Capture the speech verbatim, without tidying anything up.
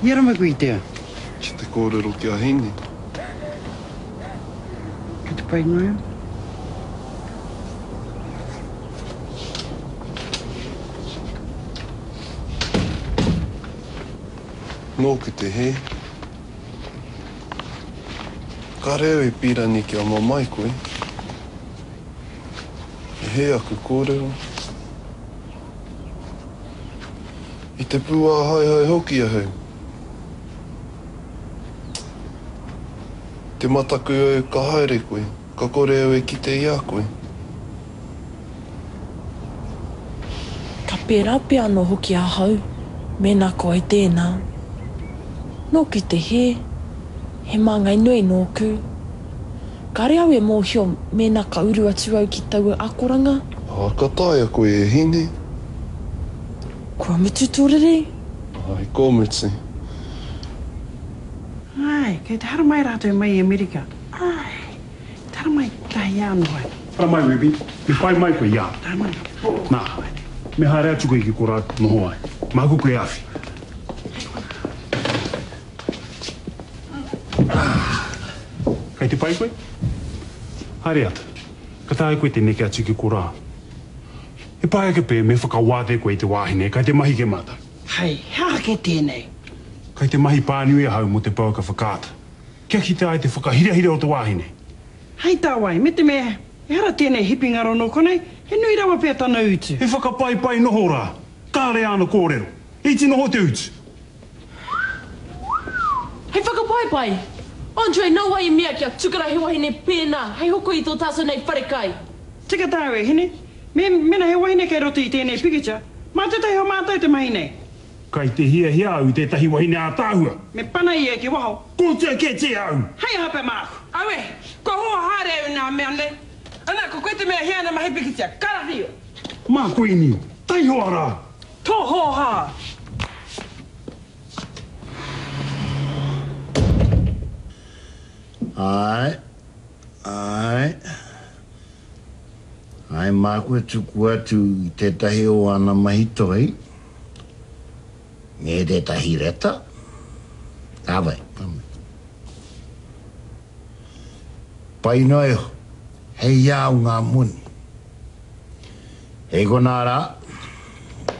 I haramai koe i te aha? Ki te kōrero ki a Hine. Kei te pai noa iho. Nōku te hē. Kāre au e pīrangi kia mamae koe. He hē aku kōrero. I te pūāhaehae hoki ahau. Te mataku au ka haere koe, ka kore au e kite i a koe. Ka pērā pea anō hoki ahau, mēnā ko au tēnā. Nōku te hē, he māngai nui nōku. Kāre au e mōhio mēnā ka uru atu au ki taua akoranga. Ā, ka taea koe e Hine. Kua mutu tō riri? Āe, kua mutu. Āe, kei te haramai rātou mai i Amerika. Āe, te haramai tahi anō ai. Haramai, Ruby. Me whai mai koe i a au. Haramai. Nā, me haere atu koe ki korā noho ai. Māku koe e awhi. Kei te pai koe? Haere atu. Ka taea koe te neke atu ki korā. He pai ake pea me whakawātea koe i te wāhi nei, kai te mahi kē mātou. Hei, he aha kē tēnei? Kai te mahi pānui ahau mō te pouaka whakaata. Kia kitea ai te whakahirahira o te wāhi nei. Hei tā wai, me te mea, ehara tēnei hipi ngaro nō konei, he nui rawa pea tana utu. He whakapaipai noho rā. Kāre āna kōrero. Iti noho te utu. Hei whakapaipai! Andre, nō wai i mea kia tukuna he wahine pēnā hei hoko i tō tātou nei wharekai? Tika tāu e hine. Me, mena he wahine kei roto i tēnei pikitia, mā tētahi o mātou te mahi nei. Kai te hiahia au i tētahi wahine ātaahua. Me pana ia ki waho. Kotia kētia au! Hei aha pea māku? Aue, kua hoa haere au i nā mea nei. Ana, ko koe te mea hea ana mahi pikitia, karawhio! Mā koe Nio, taihoa rā! Tō hōhā! Āe, āe. Āe, māku e tuku atu i tētahi o āna mahi toi, me tētahi reta. Ka wai, ka wai. Pai noa iho, hei au ngā moni. Hei konā rā.